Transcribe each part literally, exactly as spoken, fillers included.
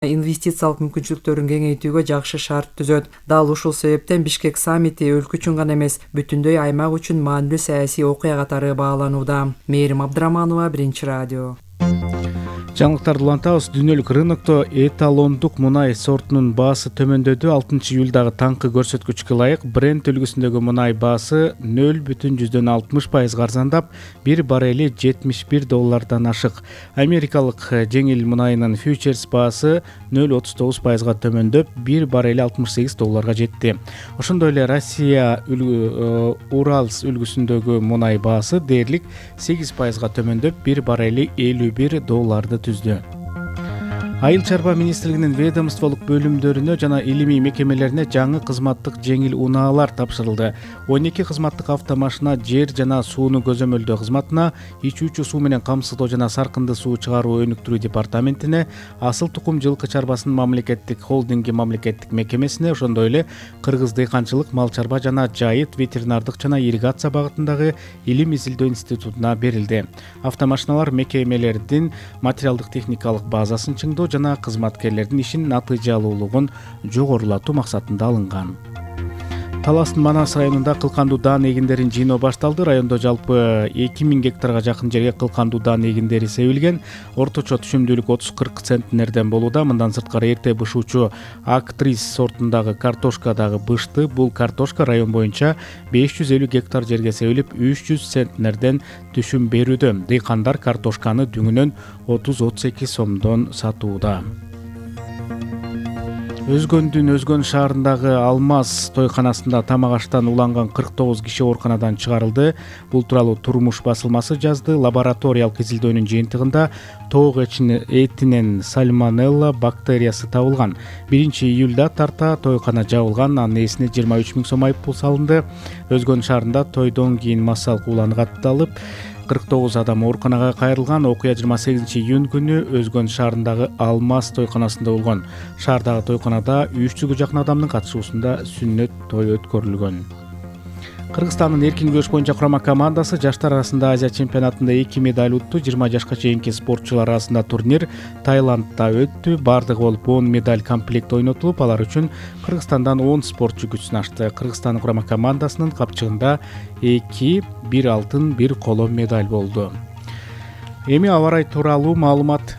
инвестициялык мүмкүнчүлүктөрүн кеңейтүүгө жакшы шарт түзөт. Дал ушул себептен Бишкек саммити өлкө үчүн гана эмес, бүтүндөй аймак үчүн маанилүү саясий окуя катары бааланууда. Мээрим Абдыраманова, Биринчи радио. Жаңылыктарды улантабыз. Дүйнөлүк рынокто эталондук мунай сортунун баасы төмөндөдү. алтынчы июлдагы таңкы көрсөткүчкө ылайык Brent үлгүсүндөгү мунай баасы нөл бүтүн жүздөн алтымыш пайызга арзандап, бир баррели жетимиш бир доллардан ашык. Америкалык жеңил мунайынын фьючерс баасы нөл отуз тогуз пайызга төмөндөп, бир баррели алтымыш сегиз долларга жетти. Ошондой эле Россия Уралс үлгүсүндөгү мунай баасы дээрлик сегиз пайызга төмөндөп, бир баррели элүү бир долларды түздү. Айыл чарба министрлигинин ведомстволук бөлүмдөрүнө жана илимий мекемелерине жаңы кызматтык жеңил унаалар тапшырылды. он эки кызматтык автомашина жер жана сууну көзөмөлдөө кызматына, ичүүчү суу менен камсыздоо жана саркынды суу чыгаруу өнүктүрүү департаментине, асыл тукум жылкы чарбасынын мамлекеттик холдинги мамлекеттик мекемесине, ошондой эле Кыргыз дыйканчылык, мал чарба жана жайыт ветеринардык жана ирригация багытындагы илим изилдөө институтуна берилди. Автомашиналар мекемелердин материалдык техникалык базасын чыңдоо жана кызматкерлердин ишин натыйжалуулугун жогорулатуу максатында алынган. Таластын Манас районунда кылкандуу даан эгиндерин жыйноо башталды. Райондо жалпы эки миң гектарга жакын жерге кылкандуу даан эгиндери себилген. Орточо түшүмдүүлүк отуз кырк центнерден болууда. Мындан сырткары эрте бышуучу Актрис сортундагы картошка дагы бышты. Бул картошка район боюнча беш жүз элүү гектар жерге себилип, үч жүз центнерден түшүм берүүдө. Дыйкандар картошканы дүңүнөн отуз отуз эки сомдон сатууда. Өзгөндүн Өзгөн шаарындагы Алмаз тойканасында тамак аштан уланган кырк тогуз киши ооруканадан чыгарылды. Бул тууралуу Турмуш басылмасы жазды. Лабораториялык изилдөөнүн жыйынтыгында тоок этинен сальмонелла бактериясы табылган. биринчи июлда тарта тойкана жабылган, анын ээсине жыйырма үч миң сом айыппул салынды. Өзгөн шаарында тойдон кийин массалык улан катталып, кырк тогуз адам ооруканага кайрылган. Окуя жыйырма сегизинчи июнь күнү Өзгөн шаарындагы Алмаз тойканасында болгон. Шаардагы тойканада үч жүзгө жакын адамдын катышуусунда сүннөт той өткөрүлгөн. Кыргызстандын эркин күрөш боюнча курама командасы жаштар арасында Азия чемпионатында эки медаль утту. жыйырма жашка чейинки спортчулар арасында турнир Таиландда өттү. Бардыгы болуп он медаль комплект ойнотулуп, алар үчүн Кыргызстандан он спортчу күч сынашты. Кыргызстан курама командасынын капчыгында эки, бир алтын, бир коло медаль болду. Эми аба ырайы тууралуу маалымат.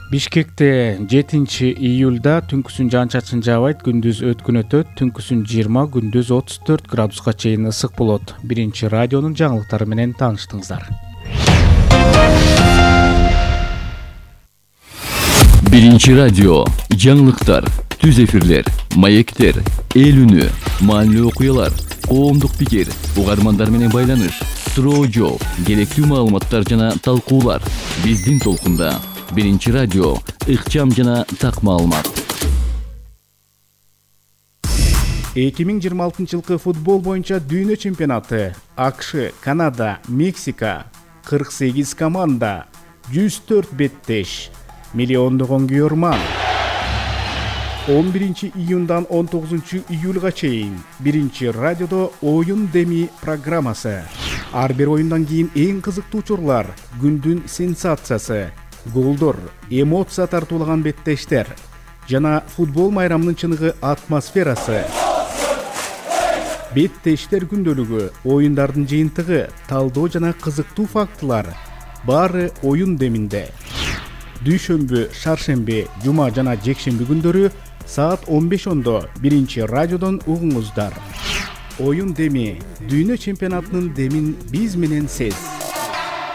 Бишкекте жетинчи июлда түнкүсүн жаан-чачын жаабайт, күндүз өткүн өтөт, түнкүсүн жыйырма, күндүз отуз төрт градуска чейин ысык болот. Биринчи радионун жаңылыктары менен тааныштыңыздар. Биринчи радио жаңылыктар, түз эфирлер, маектер, эл үнү, маанилүү окуялар, коомдук пикир, угармандар менен байланыш, суроо жооп, керектүү маалыматтар жана талкуулар. Биздин толкунда Биринчи радио, ыкчам жана так маалымат. эки миң жыйырма алтынчы жылкы футбол боюнча дүйнө чемпионаты. АКШ, Канада, Мексика, кырк сегиз команда, жүз төрт беттеш, миллиондогон күйөрман. он биринчи июндан он тогузунчу июлга чейин Биринчи радиодо оюн деми программасы. Ар бир оюндан кийин эң кызыктуу учурлар, күндүн сенсациясы, голдор, эмоция тартуулаган беттештер жана футбол майрамынын чыныгы атмосферасы. Беттештер күндөлүгү, оюндардын жыйынтыгы, талдоо жана кызыктуу фактылар баары оюн деминде. Дүйшөмбү, шаршемби, жума жана жекшемби күндөрү саат он беш ондо Биринчи радиодон угуңуздар. Оюн деми, дүйнө чемпионатынын демин биз менен сез.